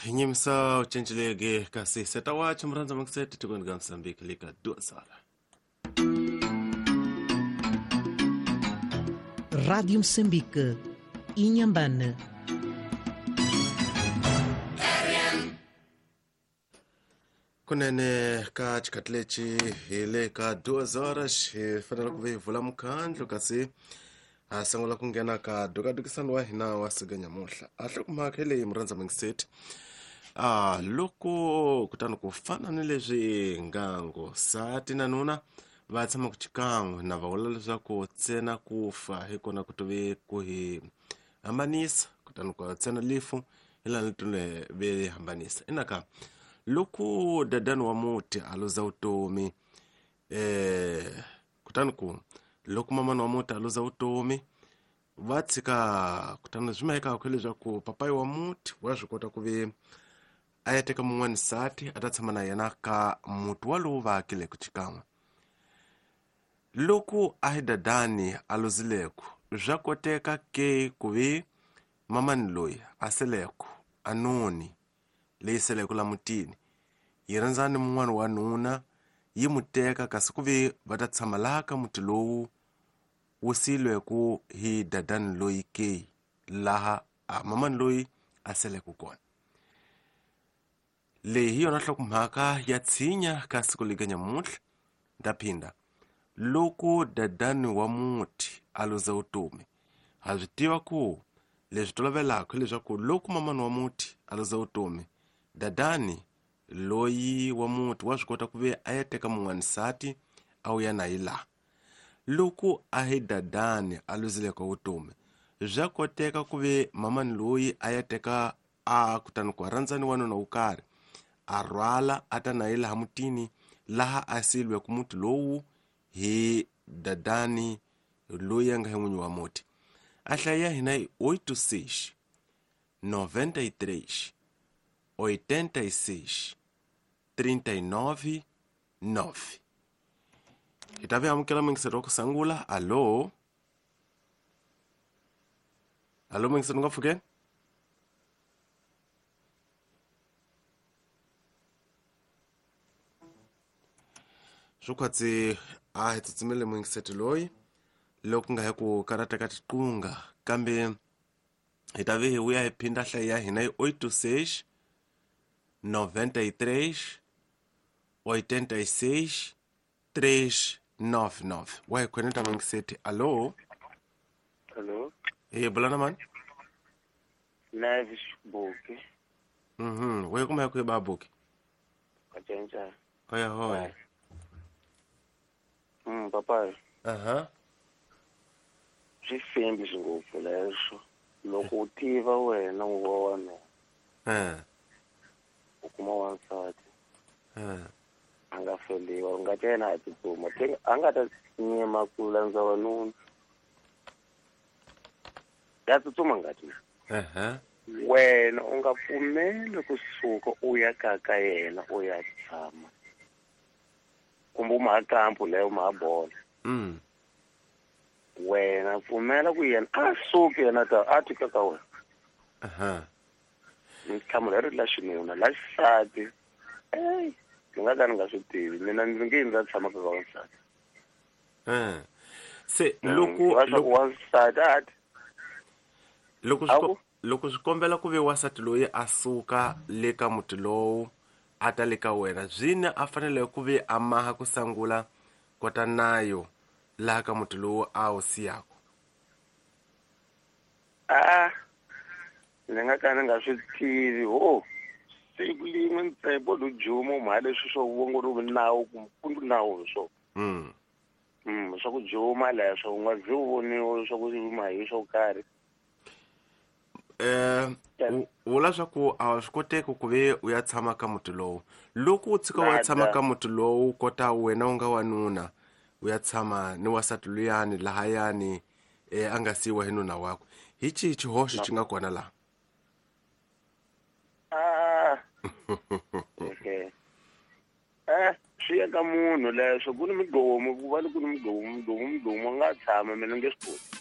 Hi nyimisa u cincileke kasi seta wacho murhandza makisete tikweni ka Mozambique le ka duas horas. Rádio Moçambique, Inhambane. Kunene ka xikhathi lexi hi le ka 2 horas hi fanele ku ve hi vula mukhandlu kasi ha sungula ku nghena ka dukadukisano wa hina wa siku nyamuhla a hlokomhaka hi leyi murhandza mingiseti a loko kutani ku fana ni leswi ngango sati na nuna va tshama ku xikan'we na va vula leswaku ntsena ku fa hi kona ku tive ku hi hambanisa kutani ku ntsena lifu hi laha ni ve hambanisa inaka loko dadani wa muti a luza vutomi kutani ku loko mamani wa muti a luza vutomi va tshika kutani swi mahekaka leswaku papayi wa muti wa swi kota ku ve a ya teka mun'wani nsati a ta tshama na yena ka muti walowu va akileke xikan'we loko a hi dadani a luzileku swa koteka ke ku ve mamani loyi a seleku a noni leyi seleke la mutini yi rhandza ni mun'wana wa nuna yi mu teka kasi ku ve va ta tshama laha ka muti lowu wu siyilweku hi dadani loyi ke laha a mamani loyi a seleke kona. Leyi hi yona nhlokomhaka ya tshinya ka siku lika nyamuntlha ndaphinda loko dadani wa muti a luza vutomi ha swi tiva ku leswi tolovelaka hileswaku loko mamani wa muti a luza vutomi dadani loyi wa muti wa swi kota ku ve a ya teka mun'wani nsati a wu ya na yi laha loko a hi dadani a luzileke vutomi swa koteka ku ve mamani loyi a ya teka a kutani ku rhandza ni wanuna wo karhi a rhwala a ta na ye laha mutini laha a siyilweke muti lowu hi dadani loyi a nga hi n'winyi wa muti a hlaya ya hina hi 86 93 86 39 9 hi ta vi amukela mingiselo wa ku sungula. Alo, alo, mingiselo nga pfukeni swo khwatsi a hi tsutsumele muyingiseti loyi loko nga hi ku karata ka tiqunga kambe hi ta vi hi vuya hi phinda hlayi ya hina hi 86 93 86 399 wa hi khoneta muyingiseti. Alo. Hello. Hi bula na mani? Nevis Buki. We kuma hi ku hi babuki. Kacenca. Hoya hoya. Papa. Aha. Swi fembi ngopfu leswo. Loko u tiva wena u wa wanuna. U kuma wansati. A nga feliwa, u nga ta yena a tsutsuma. A nga ta nyima ku landza wanuna. Ya tsutsuma ngati. Aha. Wena u nga pfumeli kusuka u ya ka ka yena u ya tshama. Kumbe u maha kampu leyo u maha bola. Wena pfumela ku yena a suki yena ta a tika ka wena. Aha. Nhlamulo ri la xinuna la xisati. Ey, ni nga ka ni nga swi tivi mina ndzi nge ndza tshama ka wansati. Se loko loko wansati a ti loko loko swi kombela ku ve wansati loyi a suka le ka muti lowu a ta le ka wena byini a fanele ku ve a maha ku sangula kota nayo laha ka muti lowu a wu siyaka. A ni nga ka ni nga swi tivi ho siku lin'we ntsepo lo juma mha leswi swo vongo ri nawu ku nawu swo. Swa ku juma leswo u nga zi u voniwa swa ku mahi swo karhi. Vula swa ku a swi koteki ku ve u ya tshama ka muti lowu loko u tshika u ya tshama ka muti lowu kota wena u nga wanuna u ya tshama ni wansati luyani lahayani a nga siyiwa hi nuna wakwe hi xihi xihoxo xi nga kona laha? Okay. Swi ya ka munhu leswo ku ni migomo ku va ni ku ni migomo migomo migomo nga tshama mina nge swi koti.